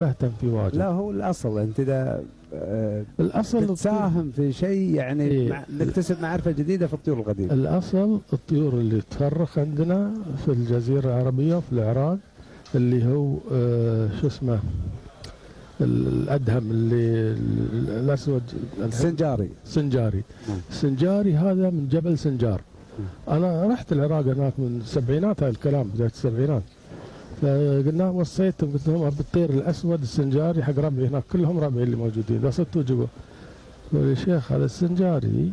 تهتم فيه واجد. لا هو الأصل أنت إذا الأصل تساهم في شيء يعني إيه؟ نكتسب معرفة جديدة في الطيور القديمة. الأصل الطيور اللي تفرخ عندنا في الجزيرة العربية وفي العراق اللي هو شو اسمه الأدهم اللي الأسود سنجاري. سنجاري هذا من جبل سنجار. أنا رحت العراق هناك من السبعينات، هاي الكلام بداية السبعينات، فقلنا وصيتهم قلت لهم أبي الطير الأسود السنجاري حق ربعي هناك كلهم ربعي اللي موجودين، إذا صدتوا جوا. قالوا يا شيخ هذا السنجاري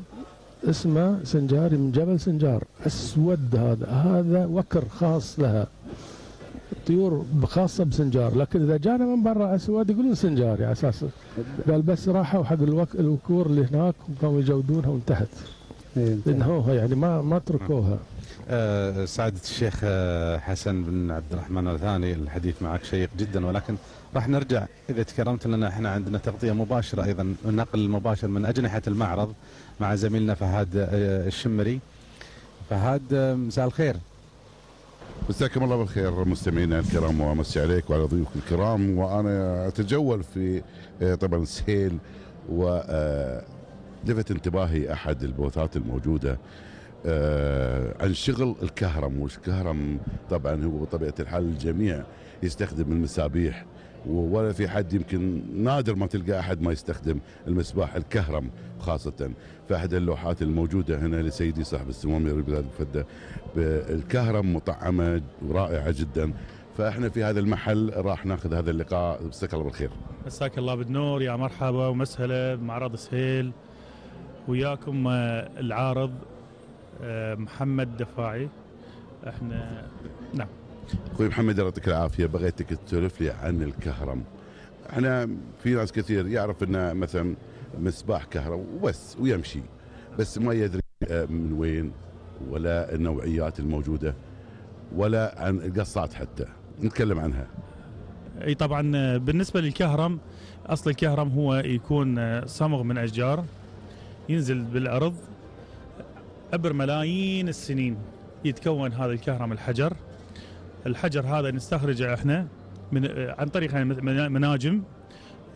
اسمه سنجاري من جبل سنجار أسود، هذا وكر خاص لها، الطيور خاصة بسنجار، لكن إذا جانا من برا أسود يقولون سنجاري على أساس. قال بس راحوا حق الوكور اللي هناك وكانوا يجودونها وانتهت، انهوها يعني ما تركوها. سعادة الشيخ حسن بن عبد الرحمن الثاني، الحديث معك شيق جدا، ولكن راح نرجع إذا تكرمت لنا. احنا عندنا تغطية مباشرة أيضا، نقل مباشر من أجنحة المعرض مع زميلنا فهد الشمري. فهد مساء الخير. مساكم الله بالخير مستمعينا الكرام، وامسي عليك وعلى ضيوفك الكرام. وانا اتجول في طبعا سهيل، ولفت انتباهي احد البوثات الموجوده عن شغل الكهرم. والكهرم طبعا هو بطبيعه الحال الجميع يستخدم المسابيح، ولا في حد، يمكن نادر ما تلقى احد ما يستخدم المسباح الكهرم خاصه. فاحد اللوحات الموجوده هنا لسيدي صاحب السمو امير البلاد الفده بالكهرم مطعمه ورائعه جدا. فاحنا في هذا المحل راح ناخذ هذا اللقاء. مساك الله بالخير. مساك الله بالنور، يا مرحبا ومسهلا بمعرض سهيل، وياكم العارض محمد دفاعي. احنا نعم اخوي محمد يعطيك العافيه، بغيتك تسولف لي عن الكهرم. احنا في ناس كثير يعرف انه مثلا مصباح كهرم وبس ويمشي، بس ما يدري من وين ولا النوعيات الموجوده ولا عن القصات حتى نتكلم عنها. اي طبعا بالنسبه للكهرم، اصل الكهرم هو يكون صمغ من اشجار ينزل بالارض عبر ملايين السنين. يتكون هذا الكهرم الحجر هذا نستخرجه احنا عن طريق مناجم،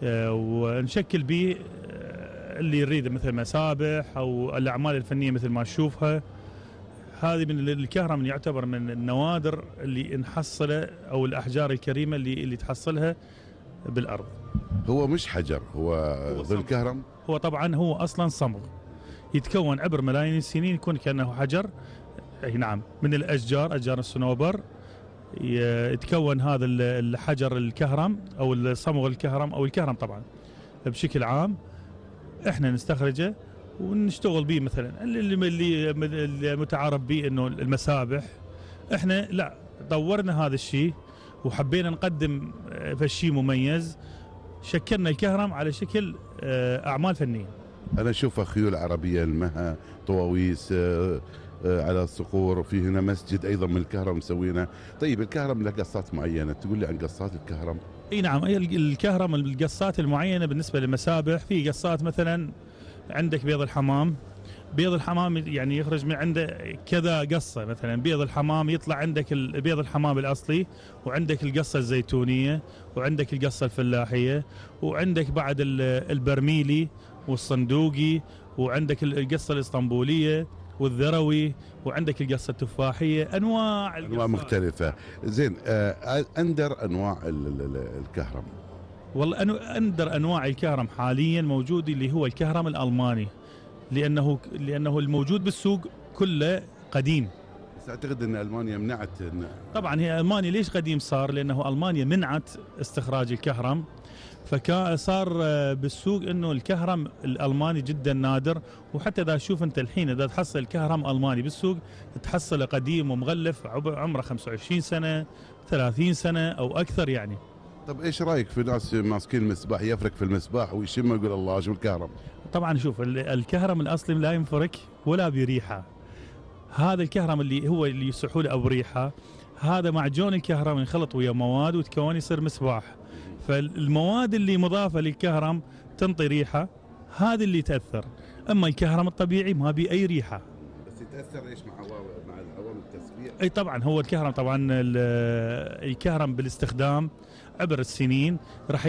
ونشكل به اللي يريد مثل مسابح او الاعمال الفنيه مثل ما تشوفها. هذه من الكهرم اللي يعتبر من النوادر اللي نحصله، او الاحجار الكريمه اللي تحصلها بالارض. هو مش حجر، هو الكهرم هو طبعا هو اصلا صمغ يتكون عبر ملايين السنين، يكون كانه حجر. اي نعم، من الاشجار، اشجار الصنوبر، يتكون هذا الحجر الكهرم او الصمغ الكهرم او الكهرم طبعا بشكل عام. احنا نستخرجه ونشتغل به، مثلا اللي متعارف به انه المسابح. احنا لا، طورنا هذا الشيء وحبينا نقدم فشي مميز، شكلنا الكهرم على شكل اعمال فنيه. انا اشوفها خيول عربيه، المها، طواويس على الصقور. في هنا مسجد ايضا من الكهرم مسوينه. طيب الكهرم له قصات معينه، تقول لي عن قصات الكهرم؟ اي نعم، الكهرم القصات المعينه بالنسبه للمسابح، في قصات مثلا عندك بيض الحمام. بيض الحمام يعني يخرج من عنده كذا قصه، مثلا بيض الحمام يطلع عندك بيض الحمام الاصلي، وعندك القصه الزيتونيه، وعندك القصه الفلاحيه، وعندك بعد البرميلي والصندوقي، وعندك القصه الاسطنبوليه والذروي، وعندك القصه التفاحيه. انواع مختلفه. زين، اندر انواع الكهرم؟ والله اندر انواع الكهرم حاليا موجود اللي هو الكهرم الالماني، لانه الموجود بالسوق كله قديم. بس اعتقد ان المانيا منعت. طبعا هي المانيا ليش قديم صار؟ لانه المانيا منعت استخراج الكهرم، فصار بالسوق انه الكهرم الالماني جدا نادر. وحتى اذا تشوف انت الحين اذا تحصل الكهرم الماني بالسوق تحصله قديم ومغلف عمره 25 سنه 30 سنه او اكثر يعني. طب ايش رايك في ناس ماسكين المسباح يفرك في المسباح ويشم يقول الله شو الكهرم؟ طبعا شوف، الكهرم الاصلي لا ينفرك ولا بريحه. هذا الكهرم اللي يصحوا له بريحه، هذا معجون الكهرم ينخلط ويا مواد وتكون يصير مسباح. فالمواد اللي مضافه للكهرم تنطي ريحه، هذا اللي تاثر. اما الكهرم الطبيعي ما بي اي ريحه. بس يتاثر ايش مع عوامل التصفية؟ اي طبعا هو الكهرم طبعا الكهرم بالاستخدام عبر السنين راح